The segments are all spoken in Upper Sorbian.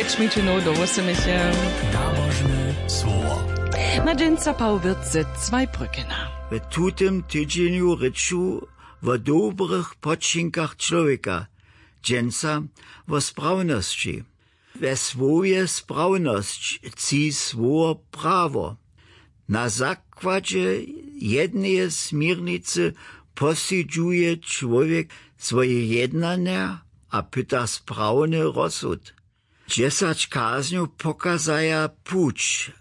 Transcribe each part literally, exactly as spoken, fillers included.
Šmičinow do wósymješe. Nabožne słowo. Na dźensa Paul Wirtz ze Zweibrückena. W tutym tydźenju rěču wo dobrych počinkach čłowjeka, dźensa wo sprawnosći. We słowje sprawnosć tči słowo prawo. Na zakładźe jedneje směrnicy posudźuje čłowjek swoje jednanja a pyta sprawny rozsud. Dźesać kaznjow pokazaja puć,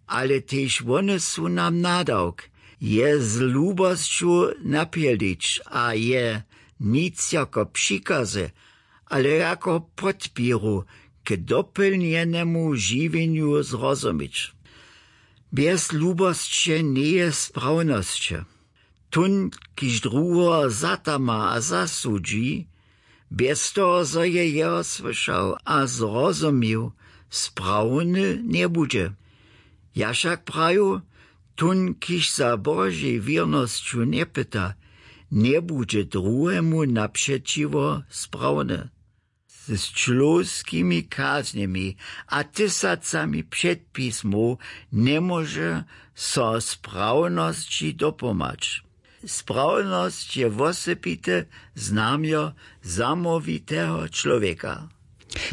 ale tež wone su nam nadawk, je z lubosću napjelić a je nic jako přikazy, ale jako podpěru k dopjelnjenemu žiwjenju zrozumić. Bjez lubosće njeje sprawnosće. Tón, kiž druheho zatama a zasudźi, bjez toho, zo je jeho słyšał a zrozumił, sprawny njebudźe. Ja wšak praju, tón, kiž za Božej wěrnosću njepyta, njebudźe druhemu napřećiwo sprawny. Z čłowskimi kaznjemi a tysacami předpismow njemóže so sprawnosći dopomhać. Sprawnosć je wosebite znamjo zamołwiteho čłowjeka.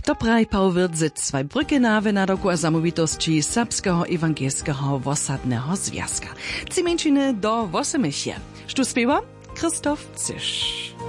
To praji Paul Wirtz ze Zweibrückena w nadawku a zamołwitosći Serbskeho ewangelskeho wosadneho zwjazka. Tři mjeńšiny do wósymješe. Štó spěwa? Christoph Cyš.